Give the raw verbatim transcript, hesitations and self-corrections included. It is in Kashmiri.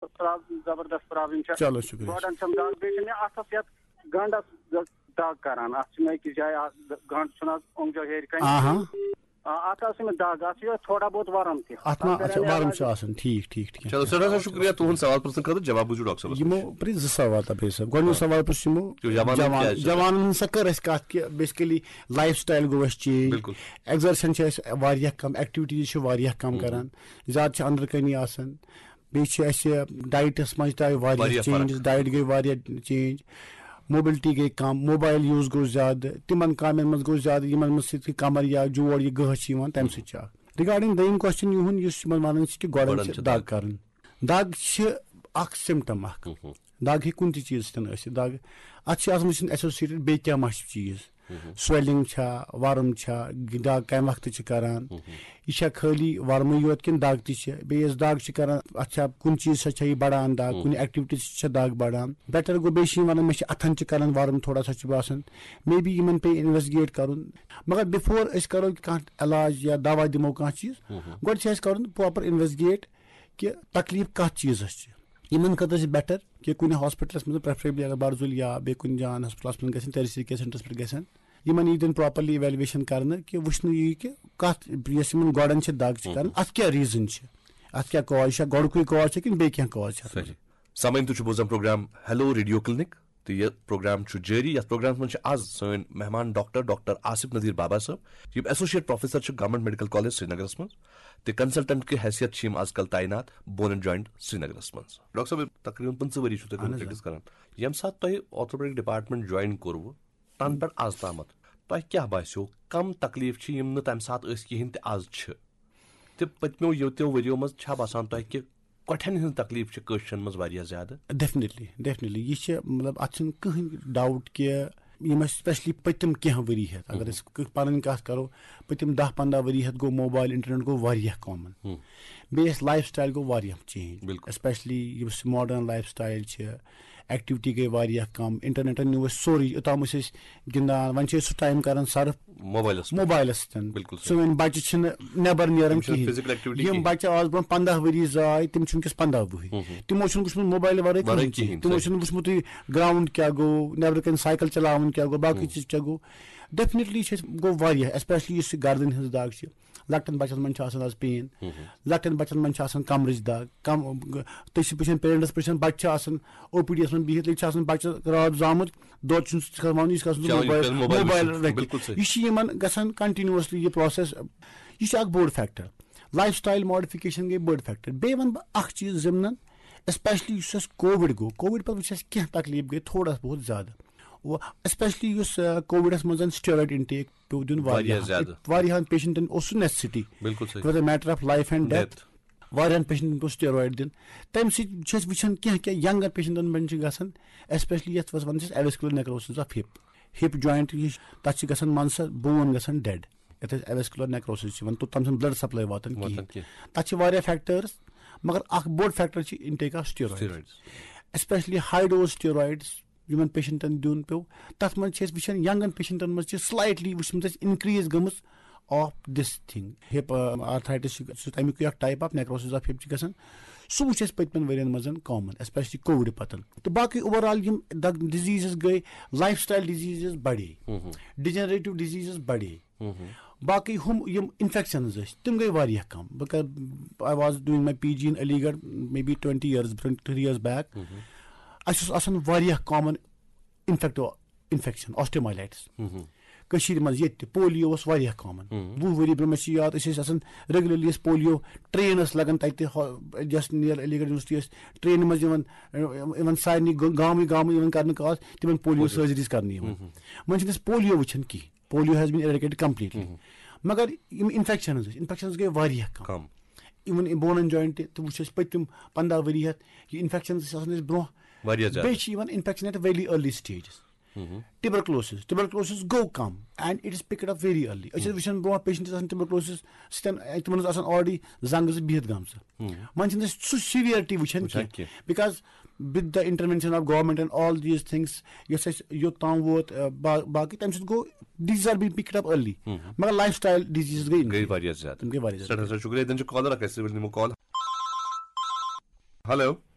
پراب- زبردست پرابلم چھےٚ۔ چلو، شُکریہ۔ گۄڈن چھم دگ، بیٚیہِ چھِ مےٚ اَتھس یَتھ گنٛڈس دگ کران۔ اَتھ چھِ مےٚ أکِس جایہِ اَکھ گنٛڈ چھُنہٕ حظ اوٚنٛگجو ہیٚرِ کنہِ۔ آہا۔ آ، اَتھ حظ چھِ مےٚ دگ، اَتھ چھِ یِہوٚے تھوڑا بہت ورم تہِ۔ اَتھ ما اَتھ اچھا کَرے مےٚ ورم علاج۔ چھُ آسان، ٹھیٖک ٹھیٖک ٹھیٖک۔ چلو، سٮ۪ٹھاہ سٮ۪ٹھاہ شُکریہ تُہُنٛد سوال پرٛژھنہٕ خٲطرٕ، جواب بوٗزِو ڈاکٹر صٲبَس یِمو پرٛژھ زٕ سوال تہٕ بیٚیہِ صٲب۔ گۄڈٕنیُک سوال پرٛژھ یِمو یہِ جوانَن جوان- کیٛاہ چھِ؟ جوانَن ہٕنٛز سا کٔر اَسہِ کَتھ کہِ بیسِکٔلی لایف سٹایل گوٚو اَسہِ چینج۔ بِلکُل۔ ایگزرشن چھِ اَسہِ واریاہ کَم، ایکٹیویٹیٖز چھِ واریاہ کَم کَران، زیادٕ چھِ أنٛدرٕ کَنی آسان، بیٚیہِ چھِ اَسہِ ڈایٹَس منٛز تہِ آیہِ واریاہ واریاہ فرق۔ چینجز، ڈایٹ گٔے واریاہ چینج، موبلٹی گٔے کَم، موبایل یوٗز گوٚو زیادٕ، تِمَن کامٮ۪ن منٛز گوٚو زیادٕ، یِمَن منٛز سۭتۍ کَمَر یا جوڑ یہِ گٔہہ چھِ یِوان، تَمہِ سۭتۍ چھِ اَکھ۔ رِگارڈِنگ دوٚیِم کوسچن یِہُنٛد، یُس یِمَن وَنان چھِ کہِ گۄڈَن گۄڈَن چھِ چھِ دَگ دَگ۔ کَرٕنۍ۔ دَگ چھِ اَکھ سِمٹم اَکھ۔ دَگ ہیٚکہِ کُنہِ تہِ چیٖز سۭتۍ ٲسِتھ۔ دَگ، اَتھ چھِ آسان وٕچھِنۍ ایسوسیٹڈ بیٚیہِ کیٛاہ ما چھِ چیٖز۔ سویلنگ چھا، ورم چھا، دگ کمہِ وقتہٕ چھِ کران، یہِ چھا خٲلی ورمٕے یوت کِنہٕ دگ تہِ چھِ؟ بیٚیہِ یۄس دگ چھِ کران، اتھ چھا کُنہِ چیٖز سۭتۍ چھا یہِ بڑان دگ، کُنہِ ایکٹیویٹی سۭتۍ چھا دگ بڑان؟ بیٹر گوٚو، بیٚیہِ چھِ یِم ونان مےٚ چھِ اتھن چھِ کران ورم تھوڑا سا چھُ باسان، مے بی یِمن پیٚیہِ انویسٹگیٹ کرُن۔ مگر بِفور أسۍ کرو کانٛہہ علاج یا دوا دِمو کانٛہہ چیٖز، گۄڈٕ چھِ اَسہِ کرُن پراپر انویسٹگیٹ کہِ تکلیف کتھ چیٖزس چھِ۔ یِمن خٲطرٕ چھِ بیٹر کہِ کُنہِ ہاسپٹلس منٛز، پریفریبلی اگر برزُل یا بیٚیہِ کُنہِ جان ہاسپٹلس منٛز گژھن، ٹیرشری کیئر سینٹرس پٮ۪ٹھ گژھن، یِمن یی دِنہٕ پراپرلی ایویلویشن کرنہٕ کہِ وٕچھنہٕ یی کہِ کتھ یۄس یِمن گۄڈن چھِ دگ چھِ کران، اتھ کیٛاہ ریزن چھِ، اتھ کیٛاہ کاز چھِ، گۄڈٕکُے کاز چھِ کِنہٕ بیٚیہِ کینٛہہ کاز چھِ اتھ منٛز؟ صحیح۔ سامعین، تُہۍ چھِو بوزان پروگرام ہیلو ریڈیو کلینک تہٕ یہِ پروگرام چھُ جٲری۔ یتھ پروگرامس منٛز چھِ آز سٲنۍ مہمان ڈاکٹر ڈاکٹر آصف نذیر بابا صٲب، یِم ایسوسیٹ پروفیسر چھِ گورنمنٹ میڈیکل کالج سرینگرس منٛز تہٕ کنسلٹنٹ کہِ حیثیت چھِ یِم آز کل تعینات بون اینڈ جوائنٹ سرینگرس منٛز۔ ڈاکٹر صٲب، تقریباً پٕنٛژٕہ ؤری چھُو تۄہہِ اہن حظ، پریکٹس کران۔ ییٚمہِ ساتہٕ تۄہہِ آرتھوپیڈک ڈپارٹمنٹ جوائن کوٚروٕ، تَنہٕ پٮ۪ٹھ آز تامَتھ تۄہہِ کیٛاہ باسیو، کم تکلیف چھِ یِم نہٕ تَمہِ ساتہٕ ٲسۍ کِہیٖنۍ تہِ آز چھِ؟ تہٕ پٔتمیو یوتیو ؤریو منٛز چھا باسان تۄہہِ کہِ کۄٹھٮ۪ن ہٕنٛز تکلیف چھِ کٲشرٮ۪ن منٛز واریاہ زیادٕ؟ Definitely, definitely. یہِ چھِ، مطلب، اَتھ چھُنہٕ کٕہٕنۍ ڈاوُٹ کہِ یِم اَسہِ سپیشلی پٔتِم کینٛہہ ؤری ہٮ۪تھ، اگر أسۍ کٕہ- پَنٕنۍ کَتھ کَرو، پٔتِم دَہ پنٛداہ ؤری ہٮ۪تھ گوٚو موبایل، انٹرنیٹ گوٚو واریاہ کامن۔ بیٚیہِ اَسہِ لایف سٹایل گوٚو واریاہ چینج۔ بِلکُل۔ اسپیشلی یُس ماڈٲرٕن لایف سٹایل چھِ، ایکٹیویٹی گٔے واریاہ کَم، انٹرنیٹَن نیوٗ اَسہِ سورُے، یوٚتام أسۍ ٲسۍ گِنٛدان، وۄنۍ چھِ أسۍ سُہ ٹایم کَران صرف موبایلس پٮ۪ٹھ۔ موبایلس سۭتۍ۔ بِلکُل صحیح۔ سٲنۍ بَچہِ چھِنہٕ نٮ۪بر نیران یِم چھِنہٕ کِہیٖنۍ۔ فزیکل ایکٹیویٹی یِم کِہیٖنۍ۔ بَچہِ آز برونٛہہ پنٛداہ ؤری زاے، تِم چھِ وٕنکیٚس پنٛداہ وُہُرۍ۔ تِمو چھُنہٕ وٕچھمُت موبایل ورٲے ورٲے کٕہٕنۍ چیٖز۔ کِہیٖنۍ، تِمو صحیح۔ چھُنہٕ وٕچھمُتٕے گراوُنڈ کیٛاہ گوٚو، نٮ۪برٕ کَنۍ سایکل چلاوُن کیٛاہ گوٚو، باقٕے چیٖز کیٛاہ گوٚو۔ ڈیفنیٹلی چھِ أسۍ گوٚو واریاہ، اسپیشلی یُس یہِ گردن ہٕنٛز دگ چھِ، لۄکٹٮ۪ن بَچَن منٛز چھِ آسان آز پین، لۄکٹٮ۪ن بَچَن منٛز چھِ آسان کمرٕچ دگ، کم تُہۍ چھِ وٕچھان پیرنٹس پرٛژھان، بَچہِ چھِ آسان او پی ڈی یَس منٛز بِہِتھ، ییٚتہِ چھِ آسان بَچہِ راتھ زامُت، دۄد چھُنہٕ سُہ کھٮ۪وان، یہِ چھُ آسان چلو، یہِ موبایل کَرِ موبایل موبایل وٕچھُن۔ رٔٹِتھ۔ بِلکُل صحیح۔ یہِ چھِ یِمن گژھان کنٹِنیوسلی یہِ پروسیس۔ یہِ چھُ اکھ بوٚڑ فیکٹر۔ لایف سٹایل ماڈفِکیشن گٔے بٔڑ فیکٹر۔ بیٚیہِ وَنہٕ بہٕ اکھ چیٖز ضمنن، اسپیشلی یُس اَسہِ کووِڈ گوٚو، کووِڈ پتہٕ وٕچھ اَسہِ کینٛہہ تکلیف گٔے تھوڑا بہت زیادٕ۔ اسپیشلی یُس کووِڈس منٛز سٹیرویڈ انٹیک پیوٚو دیُن واریاہ واریاہ، زیادٕ۔ واریاہن پیشنٹن اوس سُہ نیسیسٹی۔ بِلکُل صحیح۔ It was a matter of life and death۔ Death۔ واریاہن پیشنٹن پیوٚو سٹیرویڈ دیُن۔ تمہِ سۭتۍ چھِ أسۍ وٕچھان کینٛہہ کینٛہہ ینگر پیشنٹن منٛز چھِ گژھان، اسپیشلی یتھ وَنان چھِ أسۍ ایویسکولر نیکروسس آف ہپ۔ ہپ جوینٹ یُس، تتھ چھِ گژھان منٛزٕ سۄ بون گژھان ڈیڈ، یتھ أسۍ ایویسکولر نیکروسس چھِ وَنان، توٚتام چھُنہٕ بلڈ سپلاے واتان واتان کِہیٖنۍ۔ کینٛہہ۔ تتھ چھِ واریاہ فیکٹرز، مگر اکھ بوٚڑ فیکٹر چھِ intake of steroid. Steroids۔ Especially high dose steroids یِمن پیشنٹن دیُن پیوٚو، تتھ منٛز چھِ أسۍ وٕچھان ینگن پیشنٹن منٛز چھِ سلایٹلی وٕچھمٕژ اَسہِ انکریز گٔمٕژ of this thing. Hip arthritis چھُ سُہ تَمیُک اکھ ٹائپ آف نیکروسس آف ہپ چھِ گژھان۔ سُہ وٕچھ اَسہِ پٔتمٮ۪ن ؤرین منٛز کامن، اسپیشلی کووِڈ پتن۔ تہٕ باقٕے اوور آل یِم ڈزیٖزز گٔے، لایف سٹایل ڈزیٖزز بڑے، ڈیجنریٹو ڈزیٖزز بڑے۔ باقٕے ہُم یِم انفیکشنز ٲسۍ، تِم گٔے واریاہ کم۔ بہٕ کرٕ، I was doing my P G in Ali گڑھ maybe twenty years، twenty years back۔ اَسہِ اوس آسان واریاہ کامن انفیکٹو انفیکشن، آسٹیومایلائٹس۔ کٔشیٖرِ منٛز ییٚتہِ تہِ پولیو اوس واریاہ کامن۔ وُہ ؤری برٛونٛہہ، مےٚ چھِ یاد، أسۍ ٲسۍ آسان ریگولرلی، ٲسۍ پولیو ٹرین ٲس لگان تتہِ، ہا-، just near علی گڑھ یونیورسٹی ٲسۍ ٹرینہِ منٛز یِوان، یِوان سارنٕے گٲ-، گامٕے گامٕے یِوان کرنہٕ کاز، تِمن پولیو سرجریز کرنہٕ یِوان۔ وۄنۍ چھِنہٕ أسۍ پولیو وٕچھان کِہیٖنۍ۔ Polio has been eradicated completely۔ مگر یِم انفیکشنز ٲسۍ، انفیکشنز گٔے واریاہ کم۔ کم۔ Even bone and joint تہِ، تہِ وٕچھ اَسہِ پٔتِم پنٛداہ ؤری ہٮ۪تھ، یہِ انفیکشنز ٲسۍ آسان اَسہِ برٛونٛہہ۔ واریاہ زیادٕ۔ بیٚیہِ چھِ یِوان infection at very early stages۔ Tuberculosis, tuberculosis گوٚو کم and it is picked up very early۔ أسۍ ٲسۍ وٕچھان برٛونٛہہ پیشنٹ ٲسۍ آسان ٹیوبرکلوسس سۭتۍ، تِمن ٲس آسان already زنٛگہٕ زٕ بِہِتھ گٔمژٕ۔ وۄنۍ چھِنہٕ أسۍ سُہ سیویرٹی وٕچھان وٕچھان کینٛہہ، کینٛہہ۔ Because with the intervention of government and all these things، یۄس اَسہِ یوٚت تام ووت، آ، با-، باقٕے تَمہِ سۭتۍ گوٚو diseases are being picked up early۔ مگر لایف سٹایل ڈزیٖزز گٔے گٔے واریاہ زیادٕ۔ تِم گٔے واریاہ زیادٕ۔ سٮ۪ٹھاہ سٮ۪ٹھاہ شُکریہ۔ تیٚلہِ چھُ کالر اکھ، أسۍ نِمو کال۔ ہیلو۔